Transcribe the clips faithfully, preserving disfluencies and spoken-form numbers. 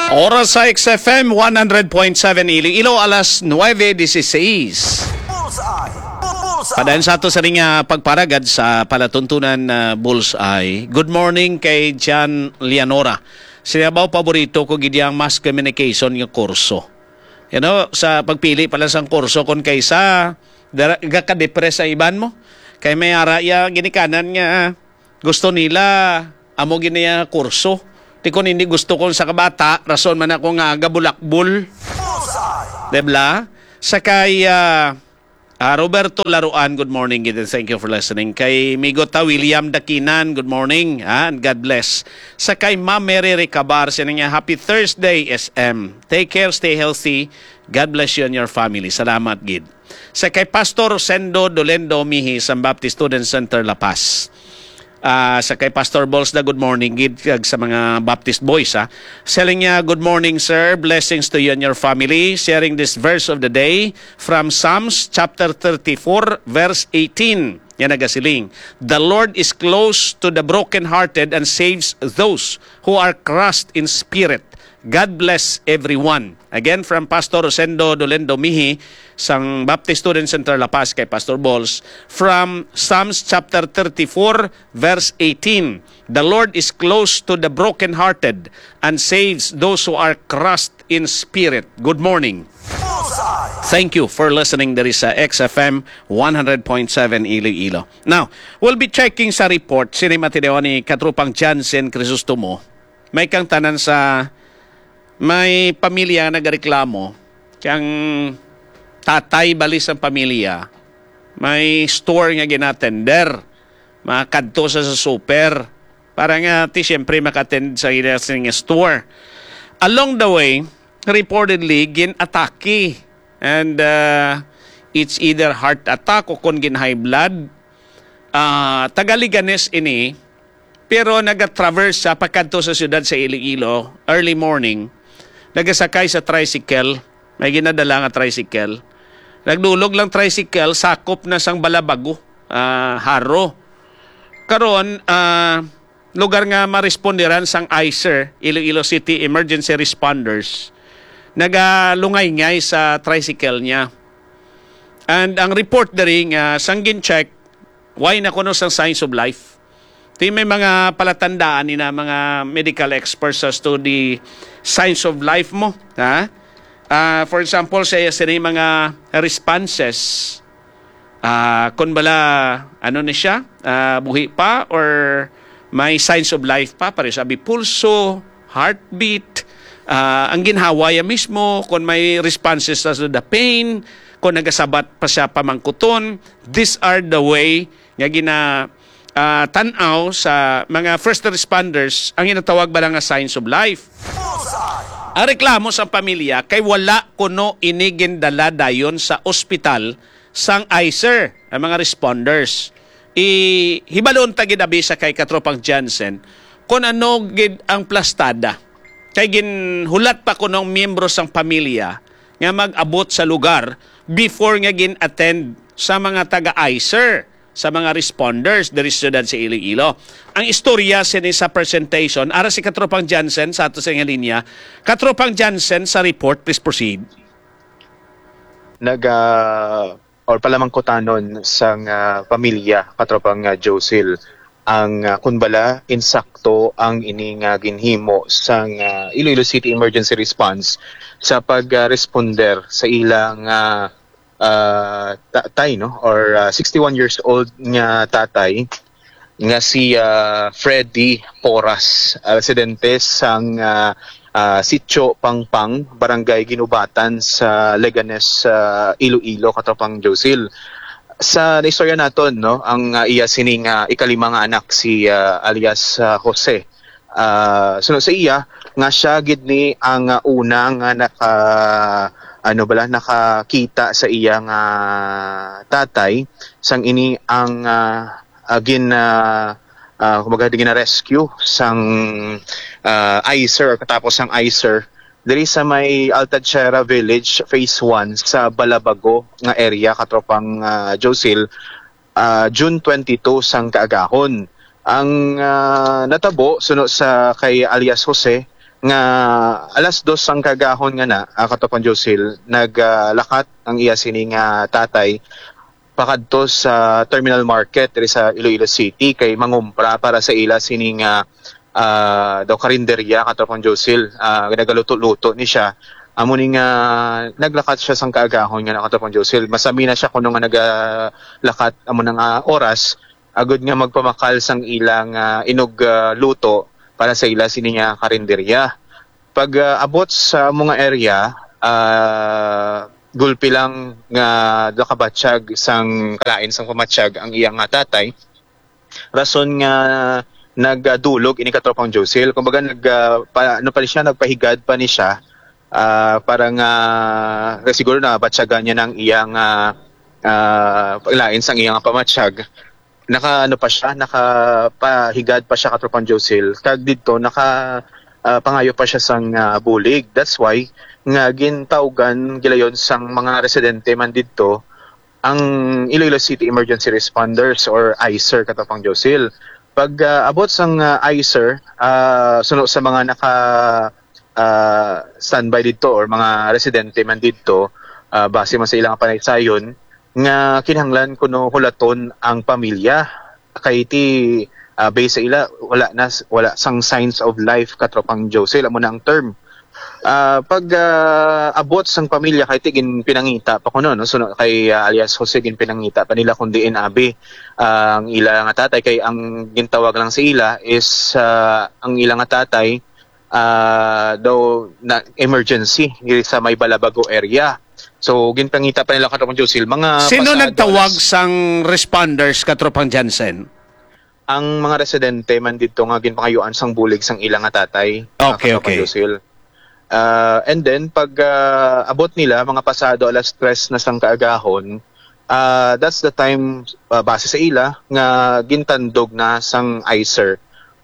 Oras sa X F M one hundred point seven Iloilo, alas nuebe dieciséis. Bullseye! Bullseye! Padayon sa ato sa ring, ah, pagparagad sa palatuntunan na Bullseye. Good morning kay Jan Leonora. Sinabaw, paborito ko gid ang mass communication nga kurso. You know, sa pagpili pa lang sang kurso, kung kaysa dara, gakadepress ang iban mo. Kay may ara iya ginikanan nga gusto nila, amo gid niya kurso. Ti kon hindi gusto kung sa kabata, rason man ako nga gabulakbol. Bullseye! Debla? Sa kay, ah, ah, Roberto Laruan, good morning, gid, and thank you for listening. Kay Migo ta William Dakinan, good morning, ah, and God bless. Sa kay Ma'am Mary Recabar, siya niya, "Happy Thursday, S M. Take care, stay healthy. God bless you and your family." Salamat, gid. Sa kay Pastor Rosendo Dolendo Mihi sa Baptist Student Center La Paz. Ah, sa kay Pastor Balls na good morning, gid, kag sa mga Baptist Boys, ha. Selling niya, "Good morning, sir. Blessings to you and your family. Sharing this verse of the day from Psalms chapter thirty-four, verse eighteen." Yan nagasiling, "The Lord is close to the brokenhearted and saves those who are crushed in spirit." God bless everyone. Again, from Pastor Rosendo Dolendo Mihi, sang Baptist Student Center La Paz, kay Pastor Balls, from Psalms chapter thirty-four, verse eighteen, "The Lord is close to the brokenhearted and saves those who are crushed in spirit." Good morning. Thank you for listening diri sa X F M one hundred point seven Iloilo. Now, we'll be checking sa report sini matinuod ni Katropang Jansen Crisostomo. May kang tanan sa may pamilya nga nagareklamo, kang tatay bali sang pamilya, may store nga ginatender, makadto sa, sa super, para nga ti siyempre makatend sa ila sing store. Along the way, reportedly, gin-atake. And, uh, it's either heart attack o kon gin high blood. Ah, taga Leganes ini, pero nagatraverse sa pagkadto sa siyudad sa Iloilo early morning. Nagasakay sa tricycle, may ginadala nga tricycle. Nagdulog lang tricycle, sakop na sang Balabago, ah, Jaro. Karon, ah, lugar nga maresponderan sang ICER, Iloilo City Emergency Responders, nagalungay-ngay sa tricycle niya. And ang report diri nga sang gin-check, wala na kuno sang signs of life. Ti may mga palatandaan ni na mga medical experts as to the signs of life mo, ha? Ah, for example, sa iya sini mga responses, ah, kung bala, ano ni siya, ah, buhi pa or may signs of life pa, pareho sabi, pulso, heartbeat, ah, ang ginhawa ya mismo, kung may responses sa the pain, kung nagasabat pa siya pamangkuton, these are the way nga gina, ah, tan-aw sa mga first responders ang ginatawag bala nga signs of life. Ang reklamo sa pamilya kay wala kuno ini gindala dayon sa ospital sang ICER ang mga responders. Ihibalon ta gid abi sa kay Katropang Jansen kung ano gid ang plastada. Kay ginhulat pa kuno ang miyembro sang pamilya nga mag-abot sa lugar before nga gin-attend sa mga taga-ICER, sa mga responders diri sa siyudad sa Iloilo. Ang istorya sini sa presentation, ara si Katropang Jansen sa ato sa nga linya. Katropang Jansen sa report, please proceed. Naga-, or palamangkutanon sang, ah, pamilya, Katropang, ah, Josil, ang, ah, kun bala insakto ang ini nga ginhimo sang, ah, Iloilo City Emergency Response sa pag, ah, responder sa ilang, ah, ah, ta-, tay, no, or, ah, sixty-one years old nga tatay nga si, ah, Freddy Poras, ah, residente sang, ah, ah, Sitio Pangpang, Barangay Guinobatan sa Leganes, ah, Iloilo, Katropang Josil. Sa naistorya naton, no, ang, ah, iya sining, ah, ikalima nga anak, si, ah, alias, ah, Jose. Ah, suno sa iya, nga siya gid ni ang, ah, una nga naka, ano bala, nakakita sa iya nga tatay, sang ini ang, ah, ah, gin, ah, ah, kumbaga, gina-rescue sang, ah, ICER, katapos sang ICER, diri sa may Alta Tierra Village, Phase one, sa Balabago nga area, Katropang, ah, Josil, ah, June twenty-two sang kaagahon. Ang, ah, natabo, suno sa kay alias Jose, nga alas dos sang kaagahon nga na, ah, Katropang Josil, naglakat ang iya sini nga tatay pakadto sa Terminal Market diri sa Iloilo City kay mangumpra para sa ila sini nga, ah, daw karinderya, Katropang Josil. Ah, nagaluto-luto ni siya. Amo ni nga naglakat siya sang kaagahon nga na, Katropang Josil. Masami na siya kuno nga nagalakat amo na nga oras agud nga magpamakal sang ilang, ah, inog, ah, luto para sa ila sini nga karinderya. Pag, ah, abot sa amo nga area, ah, gulpi lang nga nakabatsyag sang kalain sang pamatyag ang iya nga tatay. Rason nga nagdulog ini, Katropang Josil. Kumbaga, nag, ah, pa, ano pa ni siya, nagpahigad pa ni siya, ah, para nga, eh, siguro nabatyagan niya ng iyang, ah, ah, lain sang iyang pamatyag. Naka, ano pa siya, nakapahigad pa siya, Katropang Josil. Kag didto, naka, ah, pangayo pa siya sang, ah, bulig. That's why nga gintawgan gilayon sang mga residente man didto ang Iloilo City Emergency Responders or ICER, Katropang Josil. Pag, ah, abot sang, ah, ICER, ah, suno sa mga naka, ah, standby didto or mga residente man didto, ah, base man sa ilang panaysayon, nga kinahanglan kuno hulaton ang pamilya. Kay ti, ah, base sa ila, wala na, wala sang signs of life, Katropang Josil, amo na ang term. Ah, pag, ah, abot sang pamilya kay ti ginpinangita pa kuno, no? So, no, kay, ah, alias Jose, ginpinangita pa nila kung diin abi, ah, ang ila nga tatay, kay ang gintawag lang sa ila is, ah, ang ila nga tatay, ah, daw na emergency diri sa may Balabago area. So, ginpangita pa nila, Katropang Josil, mga Sino pasado nagtawag alas sang responders, Katropang Jansen? Ang mga residente man didto nga ginpangayuan sang bulig sang ila nga tatay, ah, Okay, Katropang okay. Josil. Ah, and then, pag, ah, abot nila, mga pasado alas tres na sang kaagahon, ah, that's the time, ah, base sa ila, nga gintandog na sang ICER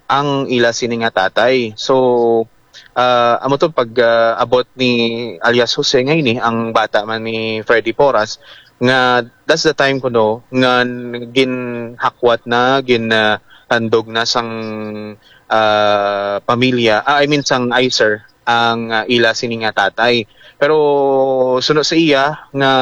ang ila sini nga tatay. So, ah, amo to pag, ah, abot ni alias Jose nga ini, ang bata man ni Freddy Porras, nga that's the time kuno nga ginhakwat na, gin, ah, tandog na sang, ah, pamilya, ah, I mean sang ICER ang, ah, ila sini nga tatay. Pero suno sa iya nga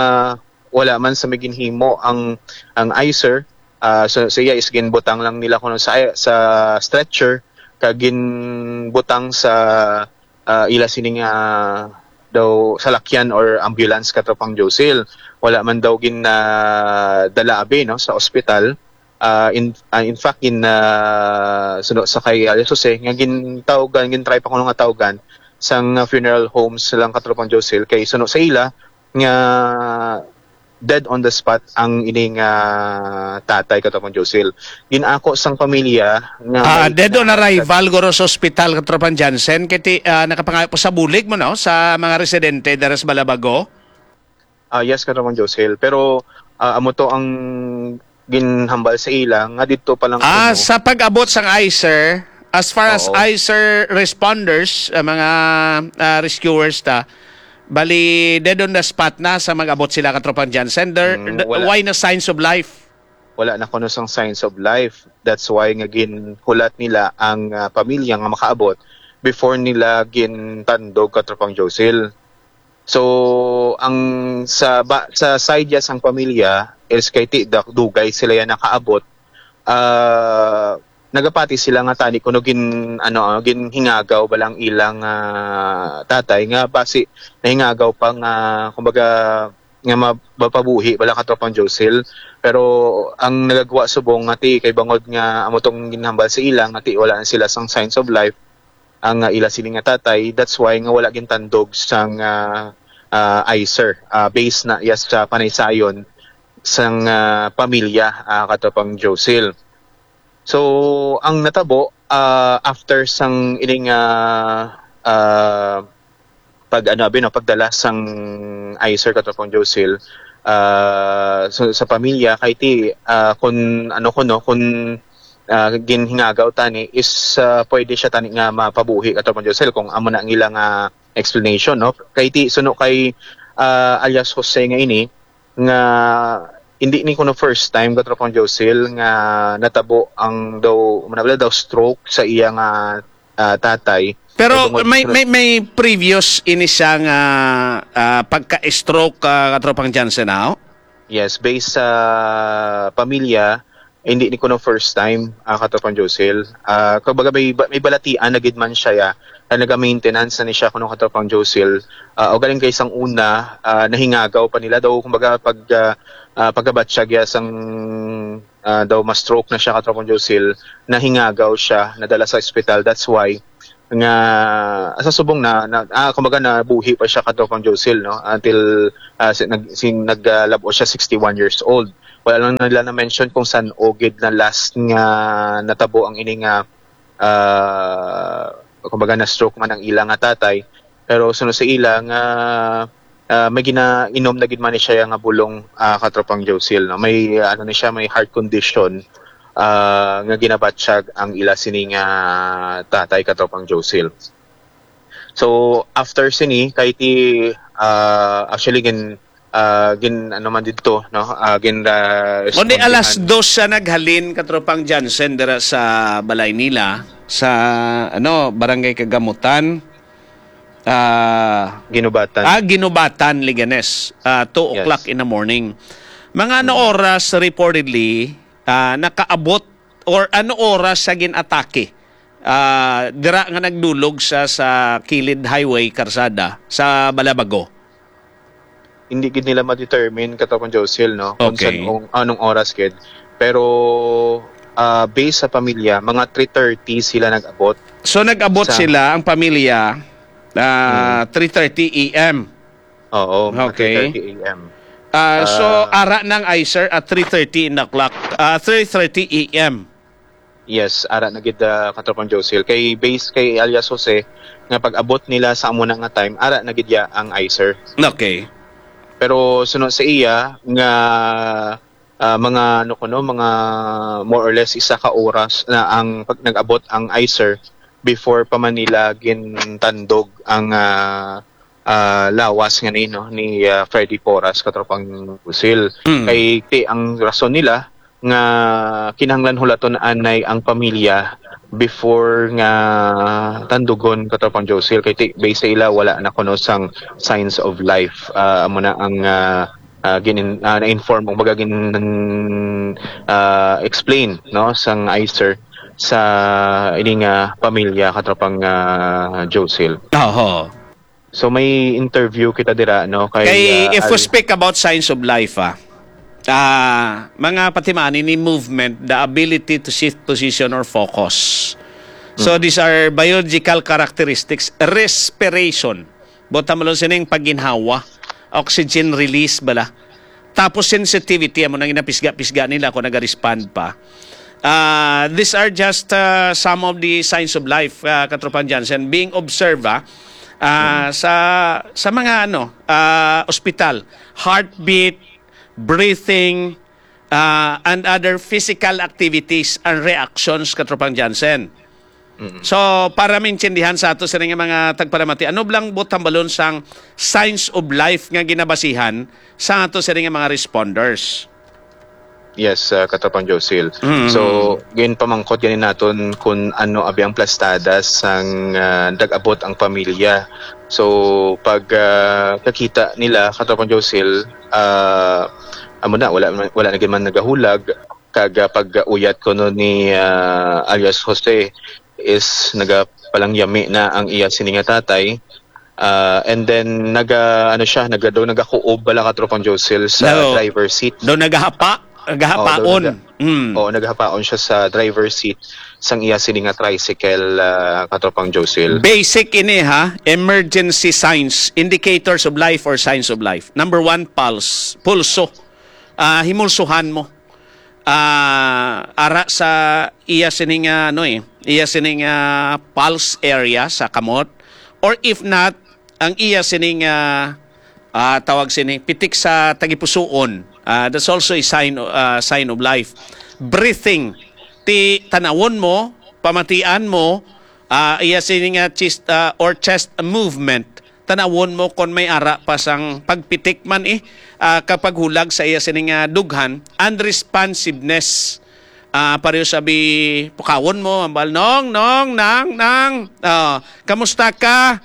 wala man sa may ginhimo ang, ang ICER, ah, suno sa iya is ginbutang lang nila kuno sa, sa stretcher kag ginbutang sa, ah, ila sini nga daw salakyan or ambulance, Katropang Josil. Wala man daw gin, ah, dala abi, no, sa ospital. Ah, in, ah, in fact, in, ah, suno sa kay alias Jose, nga gintawgan, gintry pa kuno nga tawgan sang, ah, funeral homes lang, Katropang Josil, kay suno sa ila nga dead on the spot ang ining, ah, tatay, Katropang Josil. Ginako sang pamilya nga Ah, may dead on arrival, guro, sa ospital, Katropang Jansen, kay ti, ah, nakapangayo po sa bulig mo, no, sa mga residente diri sa Balabago? Ah, yes, Katropang Josil. Pero, ah, amo to ang ginhambal sa ila nga didto pa lang Ah, kuno. Sa pag-abot sang ICER, as far as Oo. ICER responders, ah, mga, ah, rescuers ta, bali, dead on the spot na sa mag-abot sila, Katropang Jansen. There, Mm, the, wala. Why na signs of life? Wala na kuno sang signs of life. That's why nga ginhulat nila ang, ah, pamilya nga makaabot before nila gintandog, Katropang Josil. So, ang sa ba, sa side ya sang pamilya is kay ti da-, dugay sila ya nakaabot. Ah, nagapati sila nga tani kuno gin, ano, ginhingagaw bala ang ilang, ah, tatay nga basi nahingagaw pa nga, kumbaga, nga ma-, mapabuhi bala, Katropang Josil. Pero ang nagagwa subong nga ti kay bangod nga amo tong ginhambal sa ila nga ti wala na sila sang signs of life, ang, ah, ila sini nga tatay. That's why nga wala gintandog sang, ah, ah, ICER, ah, base na ya sa panaysayon sang, ah, pamilya, ah, Katropang Josil. So, ang natabo, ah, after sang ining, ah, ah, pag, ano, abi, no, pagdala sang ICER, Katropang Josil, ah, so, sa pamilya, kay ti, ah, kun, ano, kuno, kun, ah, ginhingagaw tani is, ah, pwede siya tani nga mapabuhi, Katropang Josil, kung amo na ang ilang, ah, explanation, no? Kay ti, suno kay, ah, alias Jose nga ini, nga hindi ni kuno first time, Katropang Josil, nga natabo ang daw, manabla daw stroke sa iya nga, ah, tatay. Pero tungod may, sa may, may previous ini siya nga, ah, pagka-stroke, ah, Katropang Jansen, ah? Yes, based sa pamilya, hindi ni kuno first time, ah, Katropang Josil. Ah, kumbaga may ba-, may balatian na gid man siya, ya, na naga-maintenance na ni siya kuno, Katropang Josil. Ah, o galing kay sang una, ah, nahingagaw pa nila daw, kumbaga pag, ah, ah, pagkabatyag ya sang, ah, daw ma-stroke na siya, Katropang Josil, nahingagaw siya, nadala sa ospital. That's why nga sa subong na, na ah, kumbaga nabuhi pa siya, Katropang Josil, no? Until, ah, si, nag, si, nag, ah, lab-ot siya, sixty-one years old. Wala lang nila na-mention kung san-o gid na last nga natabo ang ini nga, ah, kumbaga na-stroke man ang ila nga tatay. Pero suno sa ila nga, ah, may ginainom na gid man ni siya nga bulong, ah, Katropang Josil, no? May, ah, ano ni siya, may heart condition, ah, nga ginabatyag ang ila sini nga tatay, Katropang Josil. So, after sini, kay ti, ah, actually, gin, ah, gin, ano man didto, no? Ah, gin, ah, Kundi alas respondihan. Dos siya naghalin, Katropang Jansen, dira sa balay nila, sa, ano, Barangay Kagamutan. Ah, Ginubatan. Ah, Ginubatan, Leganes. Ah, two Yes. o'clock in the morning. Mga ano Mm. oras, reportedly, ah, nakaabot or ano oras sa gin-atake? Ah, dira nga nagdulog sa, sa kilid highway, karsada, sa Balabago. Hindi gid nila ma-determine, Katropang Josil, no, kung Okay. san-, kung anong oras gid. Pero, ah, based sa pamilya, mga three thirty sila nag-abot. So, nag-abot Sa sila, ang pamilya, ah, Hmm. three thirty A M. Oo, mga Okay. three thirty A M. Ah, so, Ah. ara ng ICER at three thirty in the clock, ah, three thirty A M. Yes, ara na gid, ah, Katropang Josil. Kay base kay alias Jose, nga pag-abot nila sa amo na nga time, ara na gid ya ang ICER. Okay. Pero suno sa iya nga, ah, mga, ano kuno, mga more or less isa ka oras na ang pag nag-abot ang ICER before pa man nila gintandog ang, ah, ah, lawas nga ni, no, ni, ah, Freddy Porras, Katropang Josil. Mm. Kay ti ang rason nila nga kinahanglan hulaton anay ang pamilya before nga tandugon, Katropang Josil, kay ti, based sa ila, wala na kuno sang signs of life. Ah, amo na ang, ah, ah, ginin-, ah, na-inform, kumbaga, gin-, ah, explain, no, sang ICER sa ini nga pamilya, Katropang, ah, Josil. Oho. So, may interview kita dira, no, kay, Kay, ah, if we Al- speak about signs of life, ah, ah, mga patimaan ini movement, the ability to shift position or focus. So, Mm. these are biological characteristics, respiration. Buot hambalon sining pagginhawa, oxygen release bala. Tapos sensitivity, amo nang ginapisga-pisga nila kung naga-respond pa. Ah, these are just, ah, some of the signs of life, ah, Katropang Jansen, being observed, ah, ah, Mm. sa, sa mga, ano, ah, ospital. Heartbeat, breathing, ah, and other physical activities and reactions, Katropang Jansen. Mm. So, para maintindihan sa ato sini nga mga tagpalamati, ano bala ang buot hambalon sang signs of life nga ginabasihan sa ato sini nga mga responders? Yes, ah, Katropang Josil. Mm. So, ginpamangkot gani naton kung ano abi ang plastada sang, ah, nag-abot ang pamilya. So, pag, ah, kakita nila, Katropang Josil, ah, amo na, wala man, wala na gid man nagahulag. Kag, ah, pag-uyat kuno ni, ah, alias Jose is nagapalangyami na ang iya sini nga tatay. Ah, and then, naga-, ano siya, naga-, daw nagakuob bala, Katropang Josil, sa No. driver seat. Daw nagahapa, Oo, daw nagahapaon. naga-, Mm. oo, nagahapaon siya sa driver seat sang iya sini nga tricycle, ah, Katropang Josil. Basic ini, ha, emergency signs, indicators of life or signs of life. Number one, pulse, pulso. Ah, himulsuhan mo. Ah, ara sa iya sining, ah, ano eh, iya sining, ah, pulse area sa kamot, or if not, ang iya sining, ah, ah, tawag sini, pitik sa tagipusoon. Ah, that's also a sign, ah, sign of life. Breathing, ti tanawon mo, pamatian mo, ah, iya sining, ah, chest, ah, or chest movement. Tanawon mo kon may ara pa sang pagpitik man, eh, ah, kapaghulag sa iya sining, ah, dughan, unresponsiveness. Ah, pareho sabi, pukawon mo, hambal, "Nong, Nong, Nang, Nang, ah, kamusta ka?"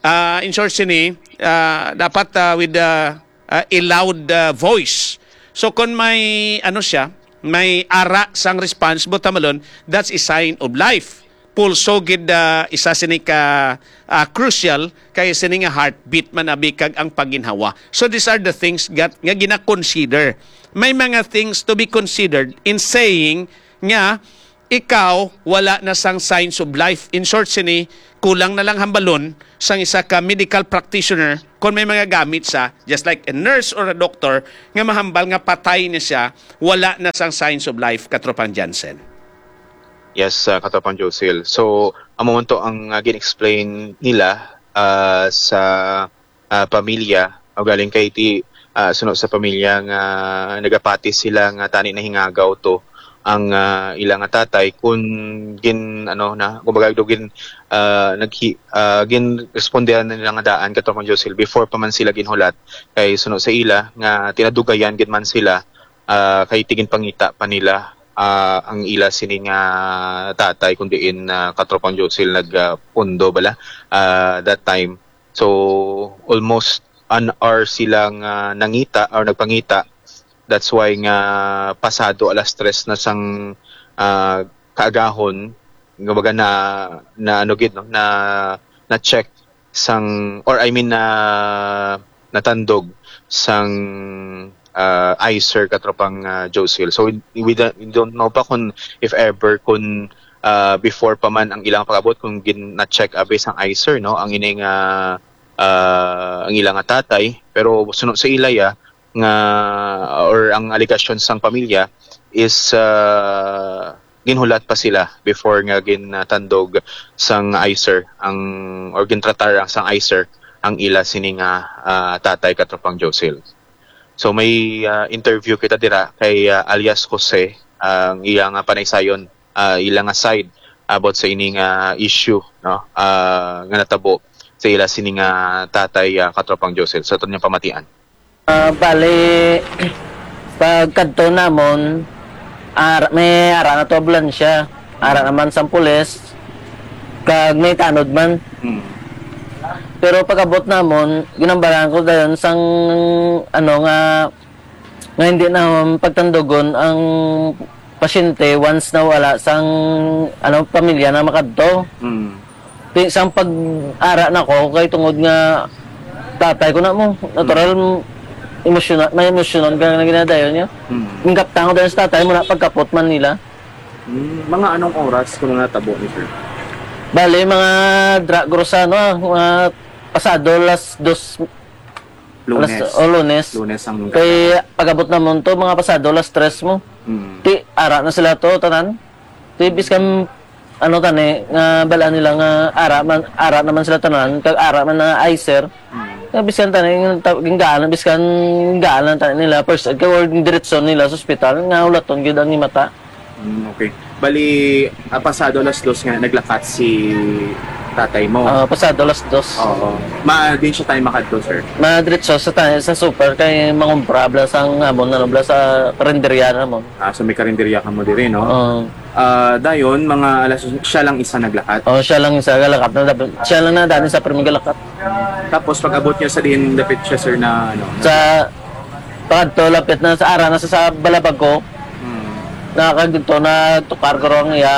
Ah, in short sini, ah, dapat, ah, with ah, ah, a loud, ah, voice. So, kung may, ano siya, may ara sang response, buot silingon, that's a sign of life. Pulso gid, ah, isa sini ka, ah, crucial, kay sini nga heartbeat man abi kag ang pagginhawa. So, these are the things gat-, nga gina-consider. May mga things to be considered in saying nga ikaw wala na sang signs of life. In short sini, kulang na lang hambalon sang isa ka medical practitioner kung may mga gamit sa, just like a nurse or a doctor, nga mahambal nga patay na siya, wala na sang signs of life, Katropang Jansen. Yes, uh, Katropang Josil. So, amo man to ang uh, gin-explain nila uh, sa uh, pamilya, o galing kay ti uh, suno sa pamilya nga nagapati sila nga tani nahingagaw to ang uh, ila nga tatay kun gin ano na kumbaga do gin uh, naghi uh, gin respondehan nila nga daan, Katropang Josil, before pa man sila ginhulat. Kay suno sa ila nga tinadugayan gid man sila uh, kay ti ginpangita pa nila uh, ang ila sini nga tatay kun diin uh, Katropang Josil nag uh, pundo bala uh, that time. So almost an hour sila nga nangita or nagpangita. That's why nga pasado alas tres na sang ah, kaagahon, kumbaga na, na ano gid, no, na, na check sang, or I mean na natandog sang uh, ICER, Katropang uh, Josil. So we, we, don't, we don't know pa kung if ever kung uh, before pa man ang ilang pag-abot kung gin na-check abi sang ICER, no, ang ining uh, uh, ang ilang tatay, pero suno sa ilaya nga or ang alegasyon sang pamilya is uh, ginhulat pa sila before nga gintandog sang ICER ang or gintratar ang sang ICER ang ila sini nga uh, tatay, Katropang Josil. So may uh, interview kita dira kay uh, alias Jose, ang iya nga panaysayon, uh, ila nga side about sa ini nga issue, no, uh, nga natabo sa ila sini nga tatay, uh, Katropang Josil, sa aton nga pamatian. Uh, bali, pagkadto namon, ara, may ara na to ambulansya. Ara naman sang pulis, kag may tanod man. Hmm. Pero pag-abot namon, ginambaran ko dayon sang, ano nga, nga hindi na pagtandugon ang pasyente once na wala sang, ano, pamilya na makadto. Hmm. Ti sang pag-ara na ko kay tungod nga tatay ko na mo, natural, mm, emosyonal, may emosyonan ka nga ginadayon niya. Mm. Ang kaptango dahil sa tatay mo na pagkapot man nila. Mm. Mga anong oras kung natabo ni sir? Bali, mga dra grosa, no, mga pasado las dos. Lunes. Alas, oh, Lunes. Lunes ang kay pag-abot namon to, mga pasado las tres mo. Mm. Ti ara na sila to tanan. Ti biskan ano tani nga bala nila nga ara man, ara naman sila tanan kag ara man na ICER. Mm. Nga biskan tani nga ta- ginggaan biskan ginggaan lang tani nila first aid kag or diretso nila sa ospital nga ulaton gyud ang imata. Mm, okay. Bali, ah, pasado alas dos nga naglakat si tatay mo. Ah, pasado alas dos. Oo. Ma, din siya tayo makadto, sir. Madiretso sa tayo sa super kay mangumpra bla sang amon na bla sa karinderya namon. Ah, so may karinderya ka mo diri, no? Oo. Ah, dayon, mga alas dos, siya lang isa naglakat. Oh, siya lang isa naglakat na dapat. Siya lang na dani sa primong galakat. Tapos pag abot niya sa din dapit siya, sir, na ano? Sa Pagkadto, lapit na sa ara na sa, sa Balabago. Hmm. Nakakagto na tukar ko ang iya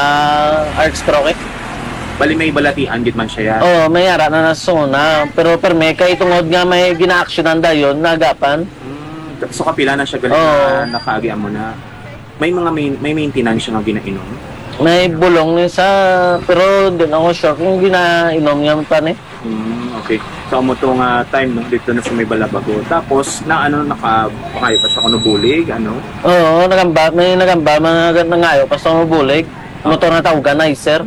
arch stroke. Bali may balatian gid man siya. Oo, may ara na nasuna. Pero perme kay tungod nga may ginaaksyonan dayon nagapan. Hmm. So kapila na siya gali Oo. na nakaagi amo na. May mga main, may maintenance siya nga ginainom. May bulong ni sa pero di na ko sure kung ginainom niya pa ni. Mm, okay. So, amo to nga time, no? Dito na sa may Balabago. Tapos, na ano, naka, makayo pa siya kung bulig, ano? Oo, nagamba, may nagamba, mga nangayo pa sa bulig. Motor na tawgan, ICER.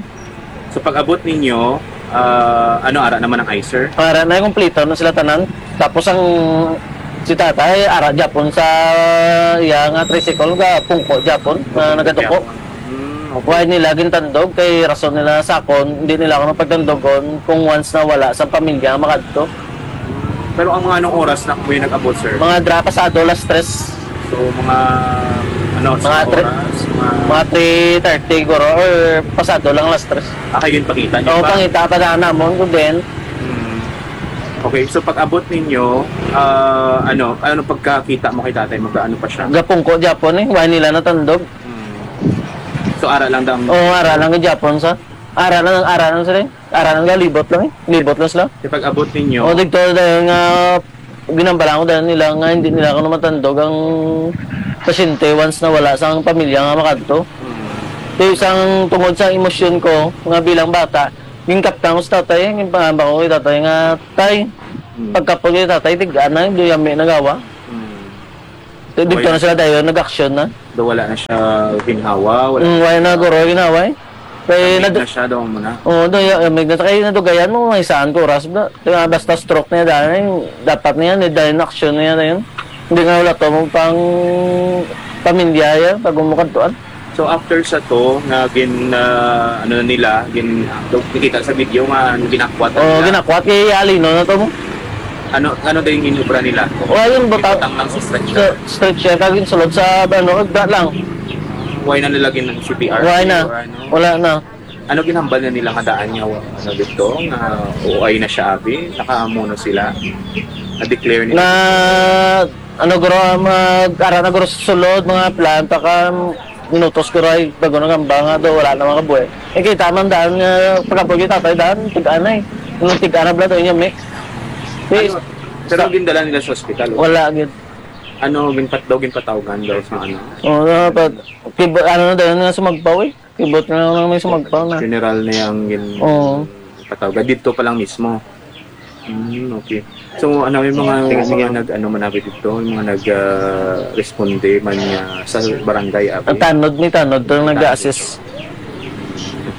So, pag abot ninyo, ah, ano, ara naman ang ICER? Para na, kompleto na sila tanan. Tapos ang si tatay, ara Japon sa iya nga tricycle, ga pungko Japon, na nagaduko. Mm, okay. Why nila gintandog? Kay rason nila sa akon, hindi nila ako mapagtandogon kung once na wala sa pamilya makadto. Pero ang mga anong oras na mo yung nag-abot, sir? Mga dra pasado las tres. So, mga ano, mga sa tre- oras? Mga three thirty guro or pasado lang alas tres. Ah, kayo yung pangita niyo Oo, pa? Pangita pa na namon ko din. Hmm. Okay, so pag-abot ninyo, ah, ano, ano pagkakita mo kay tatay? Magkaano pa siya? Gapungko Japon eh, wala nila natandog. Hmm. So, ara lang dam- Oo, ara lang gid Japon sa. Ara lang, ara lang sila. Ara lang, libot lang eh. Libot lang sila. Sa pag-abot ninyo? O, dito dahil nga ginambala ko dahil nila nga hindi nila ako matandog ang pasyente once na wala sa ang pamilya nga makadto. Hmm. Kaya isang tungod sa emosyon ko nga bilang bata, gingkaptan ko sa tatay, gingpangamba ko kay tatay nga, "Tay, Hmm. pagkapag kay tatay, tigaan na, hindi yami nagawa." Hmm. Dito Wala. na sila dahil nag-action na. Do wala na siya ginhawa, wala Mm, wala na guro ginhawa eh. Kay Tamig nadu- na siya daw mo na. Oo, do ya may na kay nadugayan mo may saan ko oras ba. Kaya basta stroke niya dahil dapat niya ni dahil action niya na yun. Hindi nga wala to mo pang pamilya ya pag umukantuan. So after sa to nga gin ah, ano na nila, gin nakita sa video nga ginakwat na Oo, nila. Ginakwat kay Alino na to mo. Ano ano din yung inubra nila? Wala yung butang. Butang lang sa stretcher. Sa stretcher, kag yung sulod sa, ano, da lang. Why na nila gin-, C P R? Why na? Or ano? Wala na. Ano ginhambal na nila nga daan nga, ano, dito? Nga O I na siya, abi? Nakaamo na sila? Na-declare nila? Na, ano, guro, mag-ara na, guro, sa sulod, mga plan pa ka, minutos ko ray bago nangamba nga do wala na makabuhi. Eh, kita man daan nga pagkapoy kita tayo daan, tig-anay. Nung tig-ana bla to inyo, mi. Ano, pero gindala nila sa ospital, o? Wala gid. Ano, ginpat-, daw ginpatawgan daw sa ano? Oo, dapat. Kibo-, ano na daw nga sumagpaw eh. Kibot na lang may sumagpaw na. Funeral na yung gin-, Oo. Patawag. Dito pa lang mismo. Hmm, okay. So, ano, yung mga, Sige, mga sige. nag-, ano man abi dito, yung mga nag, ah, responde man nga sa barangay abi? Ang tanod, may tanod, to Tanod. nag-a-assist.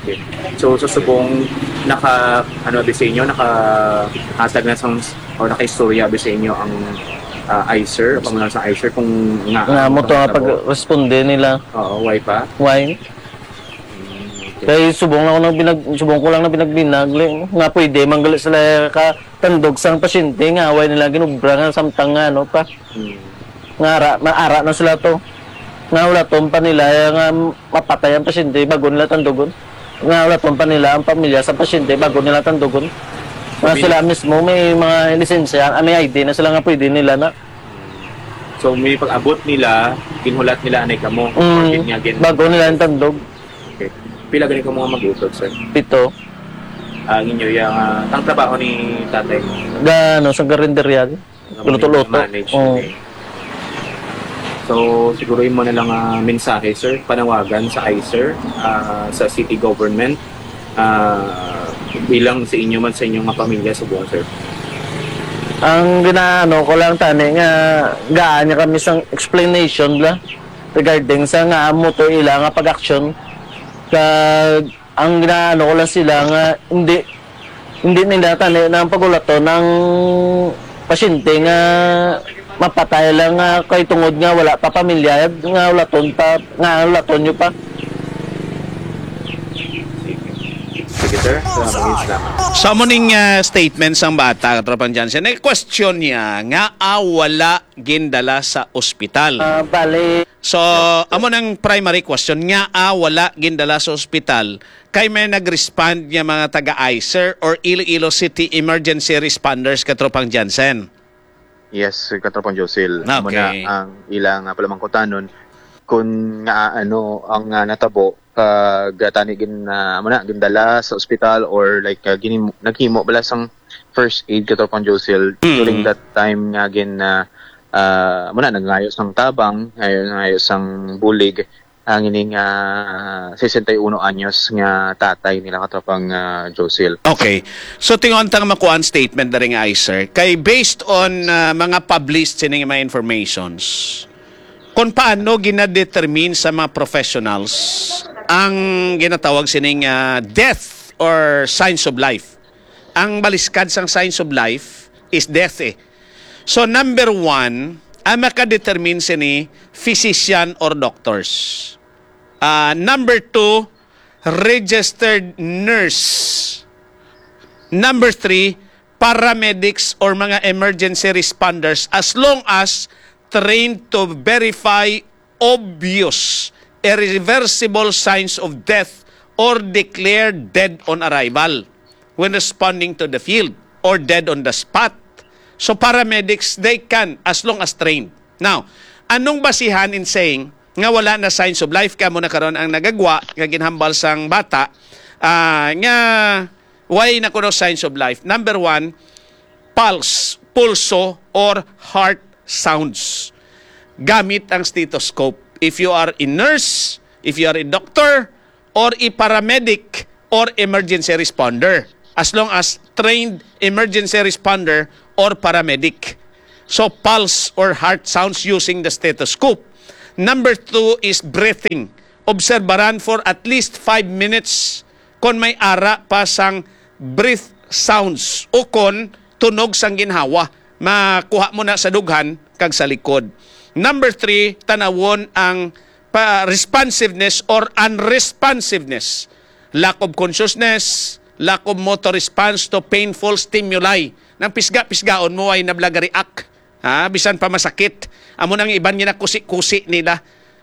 Okay. So, sa subong, naka, ano, abi sa inyo, naka-, hatag na sang, o naka-istorya abi sa inyo ang, ah, I C E R, pamulan sa I C E R, kung nga, Nga mo to nga ano, pag-responde nila. Oo, why pa? Why? Hmm, okay. Kay subong lang ako nang binag-, subong ko lang na binagbinag, li-, nga pwede man gali sila ka tandog sang pasyente nga away nila ginubra nga samtang nga ano pa. Hmm. Nga ara, maara na sila to. Nga wala to pa nila, eh, nga mapatay ang pasyente bago nila tandugon. Nga wala to pa nila ang pamilya sa pasyente bago nila tandugon. Nga Sabi sila mismo may mga lisensya, ah, may I D na sila nga pwede nila na. So, may pag-abot nila, ginhulat nila anay kamo. Mm, Or gin-, nga gin- bago nila ang tandog. Okay. Pila gani ka mga mag-utod, sir? Pito. Ang inyo, yung, ah, ang trabaho ni tatay? Ga, ano, sa karinderya. Luto-luto. Manage, Oo. Okay. So, siguro imo na lang, ah, mensahe, sir, panawagan sa I C E R, ah, sa city government, ah, bilang sa inyo man, sa inyong mga pamilya subong, sir. Ang ginaano ko lang tani nga gaan niya kami sang explanation la regarding sa nga amo to ila nga pag-action. Kag ang ginaano ko lang sila nga hindi, hindi nila tani na ang pagulaton ng pasyente nga mapatay lang nga kay tungod nga wala pa pamilya nga ulaton pa, nga ulaton nyo pa. Sige, sir. Salamat, salamat. Sa amo ning, ah, statement sang bata, Katropang Jansen, eh, question niya nga, ah, wala gindala sa ospital. Ah, bali. So, amo nang primary question nga, ah, wala gindala sa ospital. Kay may nag-respond nga mga taga I C E R or Iloilo City Emergency Responders, Katropang Jansen. Yes, Katropang Josil. Amo na Okay. ang ilang, ah, palamangkutanon kung nga, ano, ang, ah, natabo, kag, ah, tani gin, ah, amo na, gindala sa ospital or, like, ah, ginim-, naghimo bala sang first aid, Katropang Josil, Mm. during that time nga gin, ah, ah, amo na, nagngayo sang tabang, ngayo, ngayo sang bulig, ang ining, ah, sesenta y uno anyos nga tatay nila, Katropang, ah, Josil. Okay. So, tingon ta nga makuha ang statement na rin nga, sir. Kay based on, ah, mga published sining mga informations, kung paano ginadetermine sa mga professionals ang ginatawag sining, ah, death or signs of life. Ang baliskad sang signs of life is death eh. So, number one, ang makadetermine sini, physician or doctors. Ah, number two, registered nurse. Number three, paramedics or mga emergency responders, as long as trained to verify obvious irreversible signs of death or declared dead on arrival when responding to the field or dead on the spot. So paramedics, they can, as long as trained. Now, anong basihan in saying nga wala na signs of life? Kamo na karon ang nagagwa nga ginhambal sang bata, ah, nga why na kuno signs of life? Number one, pulse, pulso, or heart sounds. Gamit ang stethoscope. If you are a nurse, if you are a doctor, or a paramedic, or emergency responder, as long as trained emergency responder or paramedic. So, pulse or heart sounds using the stethoscope. Number two is breathing. Obserbaran for at least five minutes kon may ara pa sang breath sounds o kon tunog sang ginhawa. Makuha mo na sa dughan kag sa likod. Number three, tanawon ang pa-, responsiveness or unresponsiveness. Lack of consciousness, lack of motor response to painful stimuli. Nang pisga-pisgaon mo ay nablaga-react. Ha? Bisan pa masakit. Amo nang iban nga nakusi-kusi nila.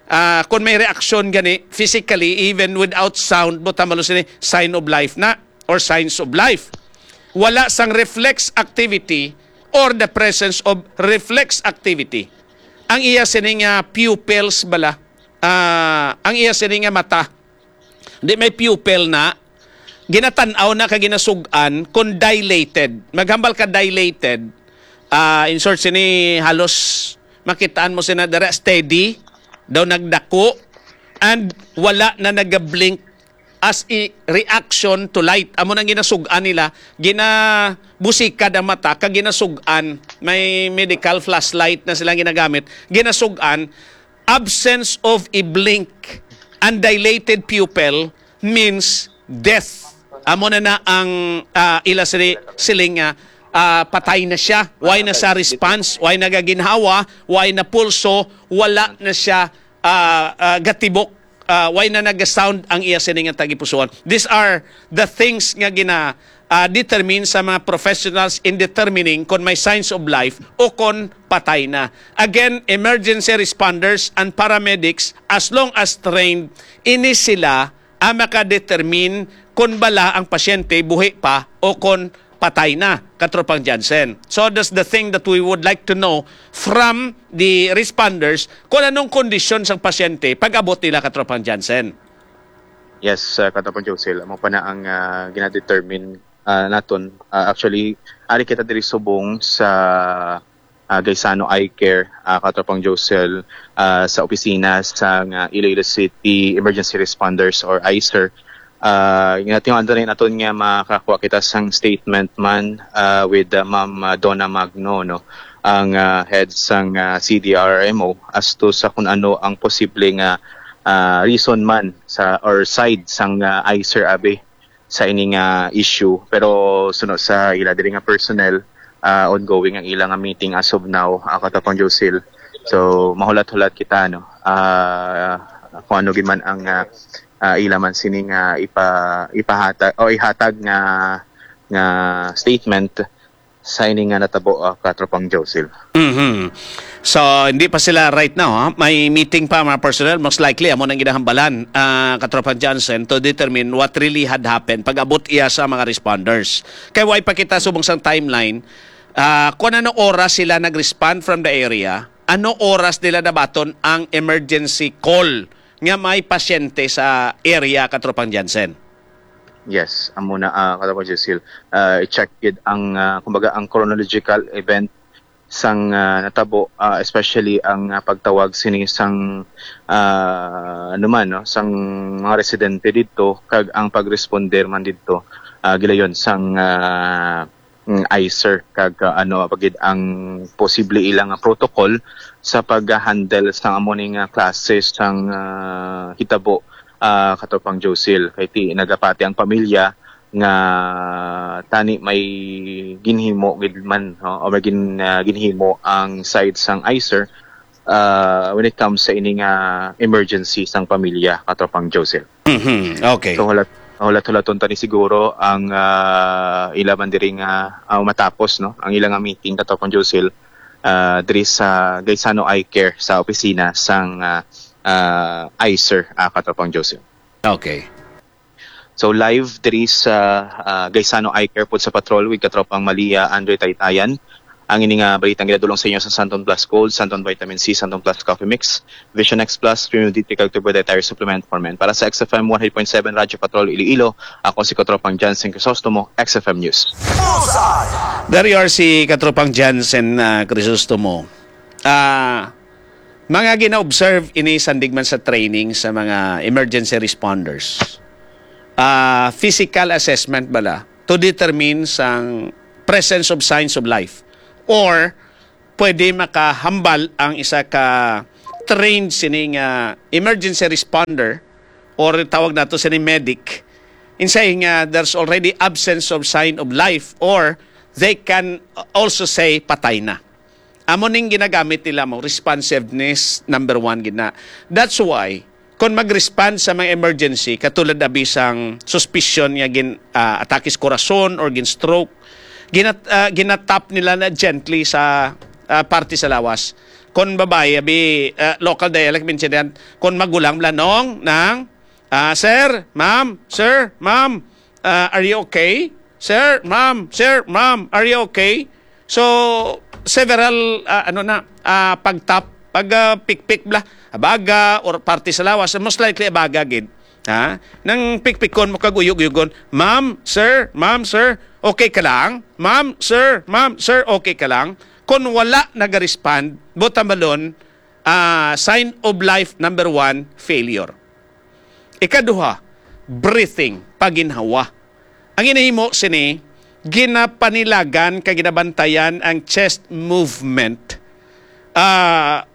Ah, kung may reaksyon gani, physically, even without sound, buta malos ni sign of life na or signs of life. Wala sang reflex activity or the presence of reflex activity. Ang iya sini nga pupils bala, ah, ang iya sini nga mata, di may pupil na, ginatan-aw na kag ginasug-an kon dilated. Maghambal ka dilated, ah, in short, sini halos makitaan mo sina dira steady, daw nagdako, and wala na nagablink as a reaction to light. Amo nang ginasug-an nila, ginabusikad ang mata, kag ginasug-an, may medical flashlight na sila ginagamit, ginasug-an, absence of a blink and dilated pupil means death. Amo na na ang, ah, ila sili-, siling nga, ah, patay na siya. Why na sa response? Why nagaginhawa? Why na pulso? Wala na siya, ah, ah, gatibok. Ah, why na nag-sound ang iya sini nga tagipusoon? These are the things nga gina, ah, determine sa mga professionals in determining kon may signs of life o kon patay na. Again, emergency responders and paramedics, as long as trained, ini sila ang makadetermine kon bala ang pasyente buhi pa o kon patay na, Katropang Jansen. So that's the thing that we would like to know from the responders, kung anong kondisyon sang pasyente pag-abot nila, Katropang Jansen. Yes, uh, Katropang Josel, amo pa na ang uh, ginadetermine uh, naton. Uh, actually, ari kita diri subong sa uh, Gaisano Eye Care, uh, Katropang Josel, uh, sa opisina sa uh, Iloilo City Emergency Responders or ICER. Uh, ginatinguhan rin naton nga makakuha kita sang statement man uh, with uh, Ma'am uh, Donna Magno, no, ang uh, head sang uh, C D R M O, as to sa kung ano ang posible nga uh, reason man sa or side sang uh, ICER abi sa ini nga issue. Pero suno sa ila diri nga personnel, uh, ongoing ang ila nga meeting as of now, uh, Katropang Josil. So mahulat-hulat kita, no, uh, kung ano gid man ang uh, uh, ila man sini nga ipa, ipahatag o ihatag nga nga statement sa ini nga natabo, uh, Katropang Josil. Mhm. So, hindi pa sila right now, ha? May meeting pa, mga personnel. Most likely, amo nang ginahambalan, uh, Katropang Johnson, to determine what really had happened pag-abot iya sa mga responders. Kay why pa kita subong sang timeline, uh, kung ano oras sila nag-respond from the area, ano oras nila nabaton ang emergency call nga may pasyente sa area, Katropang Jansen? Yes, amo na, uh, Katropang Josil. Uh, i-check gid ang, uh, kumbaga, ang chronological event sang uh, natabo, uh, especially ang uh, pagtawag sini sang uh, ano man, no, sang mga residente didto kag ang pag-responder man didto, uh, gilayon sang uh, mm, ICER kag uh, ano pa gid ang posible ilang protocol sa pag-handle sang amo ning uh, klase sang uh, hitabo, uh, Katropang Josil, kay ti nagapati ang pamilya nga tani may ginhimo gid man, no, o may gin, uh, ginhimo ang side sang ICER uh, when it comes sa ini nga emergency sang pamilya, Katropang Josil. Mhm. Okay. So hulat hulat-hulaton tani siguro ang uh, ila man diri nga uh, matapos, no, ang ila nga meeting, Katropang Josil, uh, diri sa Gaisano Eye Care sa opisina sang uh, ah, ice, sir, ah, Katropang Joseph. Okay. So live diri sa, ah, Gaisano Eye Care pod sa patrol with Katropang Malia Andre Taytayan. Ang ini nga balitang ginadulong sa inyo sa Santon Plus Gold, Santon Vitamin C, Santon Plus Coffee Mix, Vision X Plus, Premium D three kag Turbo Dietary Supplement for Men. Para sa X F M one hundred point seven Radyo Patrol Iloilo, ako si Katropang Jansen Crisostomo, X F M News. Dari R C Katropang Jansen, ah, Crisostomo. Ah, mga gina-observe ini sandig man sa training sa mga emergency responders. Ah, physical assessment bala to determine sang presence of signs of life, or pwede makahambal ang isa ka trained sini nga emergency responder, or tawag nato sini medic, insay nga there's already absence of sign of life, or they can also say patay na. Amo ning ginagamit nila mo, responsiveness number one gid na. That's why kung mag-respond sa mga emergency, katulad abi sang suspicion nga gin ah, atake sa korason or gin stroke, ginat ah, ginatap nila na gently sa ah, parte sa lawas. Kung babae, abi, ah, local dialect, minsan yan, kung magulang bala, nong, nang, ah, sir, ma'am, sir, ma'am, ah, are you okay? Sir, ma'am, sir, ma'am, are you okay? So, several, ah, ano na, ah, pagtap, pag ah, pikpik bala, abaga, or parte sa lawas, most likely abaga gid. Ha? Nang pikpikon mo kag uyog-uyogon, "Ma'am, sir, ma'am, sir, okay ka lang? Ma'am, sir, ma'am, sir, okay ka lang?" Kung wala naga-respond, buot silingon, ah, sign of life number one, failure. Ikaduha, breathing, paginhawa. Ang ginahimo sini, ginapanilagan kag ginabantayan ang chest movement. Ah,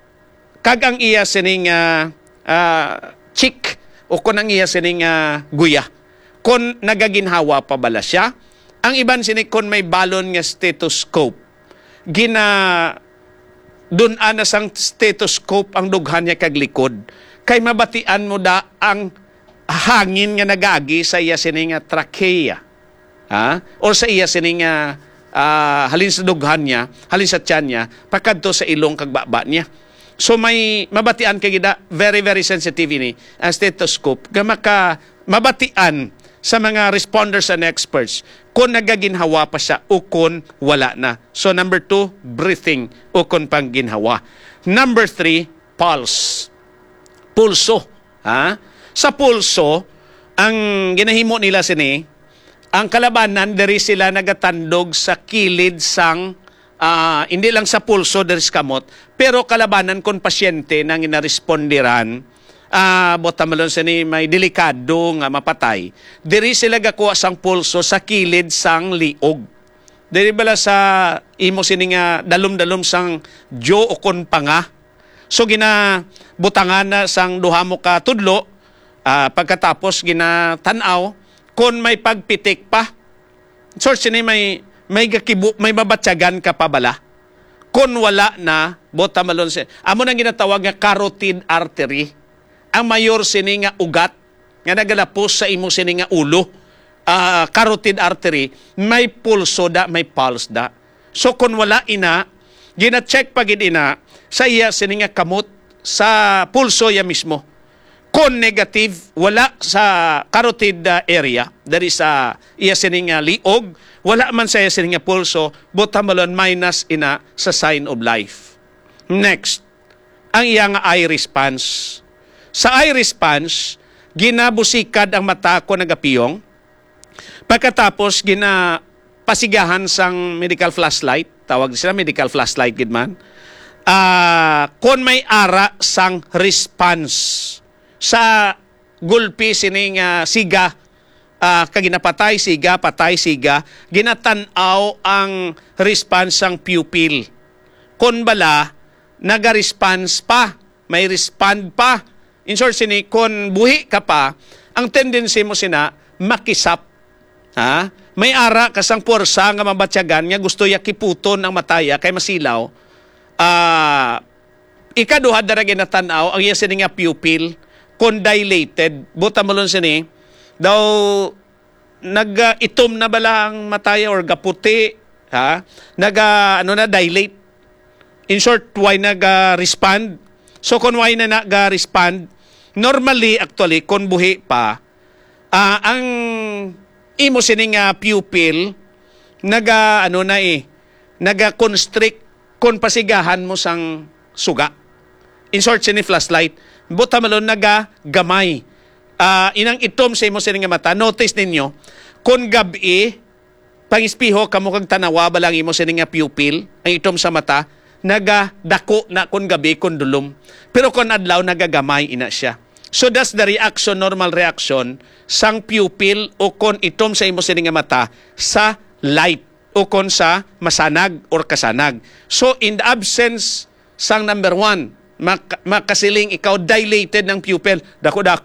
kag ang iya sining ah, ah, cheek o kon ang iya sining ah, guya, kon nagaginhawa pa bala siya. Ang iban sini, kon may balon nga stethoscope, gina dun-an na sang stethoscope ang dughan niya kag likod, kay mabatian mo da ang hangin nga nagagi sa iya sini nga trachea, ha? Or sa iya sini nga, ah, halin sa dughan niya, halin sa tiyan niya, pakadto sa ilong kag baba niya. So may mabatian kay gida, very, very sensitive ini ang stethoscope, nga maka mabatian sa mga responders and experts kung nagaginhawa pa siya o kung wala na. So number two, breathing o kung pangginhawa. Number three, pulse. Pulso. Ha? Sa pulso, ang ginahimo nila sini, ang kalabanan diri sila nagatandog sa kilid sang, ah, hindi lang sa pulso diri sa kamot, pero kalabanan kon pasyente nang ginarespondiran, ah, buot silingon sini may delikado nga mapatay. Diri sila gakuha sang pulso sa kilid sang liog. Diri bala sa imo sini nga dalom-dalom sang jo o kon panga. So ginabutangan na sang duha mo ka tudlo, ah, pagkatapos ginatan-aw kon may pagpitik pa. Sort sini may may gakibu, may mabatyagan ka pa bala. Kon wala na, buot silingon si, amo nang ginatawag nga carotid artery. Ang mayor sini nga ugat nga nagalapos sa imo sini nga ulo, ah, carotid artery, may pulso da, may pulse da. So kung wala ina, gina-check pa gid ina sa iya sini nga kamot, sa pulso iya mismo. Kung negative, wala sa carotid, ah, area, diri sa iya sini nga liog, wala man sa iya sini nga pulso, buot silingon minus ina sa sign of life. Next, ang iya nga eye response. Sa eye response, ginabusikad ang mata kon nagapiyong. Pagkatapos, ginapasigahan sang medical flashlight. Tawag sila medical flashlight gid man. Ah, kon may ara sang response sa gulpi sining, ah, siga, ah, kag ginapatay, siga, patay, siga, ginatan-aw ang response sang pupil. Kon bala, naga-response pa, may respond pa. In short, sini, kon buhi ka pa, ang tendency mo sina, makisap. Ha? May ara ka sang puwersa nga mabatyagan nga gusto ya kiputon ang mataya kay masilaw. Ah, ikaduha dara ginatan-aw ang iya sini nga pupil kon dilated. Buot silingon sini, daw nag-itom na bala ang mataya or gaputi, ha? Naga, ano na, dilate. In short, why naga-respond? So kung why na naga-respond, normally, actually, kung buhi pa, ah, ang imo sini nga pupil naga, ano na eh, naga-constrict kung pasigahan mo sang suga. In short, sini flashlight, buta malon naga gamay. Ah, inang itom sa imo sini nga mata. Notice ninyo, kung gabi, pangispiho kamo kag tanawa ba lang imo sini nga pupil, ang itom sa mata, nagadako na kon gabi kon dulom. Pero kon adlaw, nagagamay ina siya. So that's the reaction, normal reaction sang pupil o kon itom sa imo sini nga mata sa light o kon sa masanag or kasanag. So in the absence sang number one, mak- makasiling ikaw dilated ng pupil, dako-dako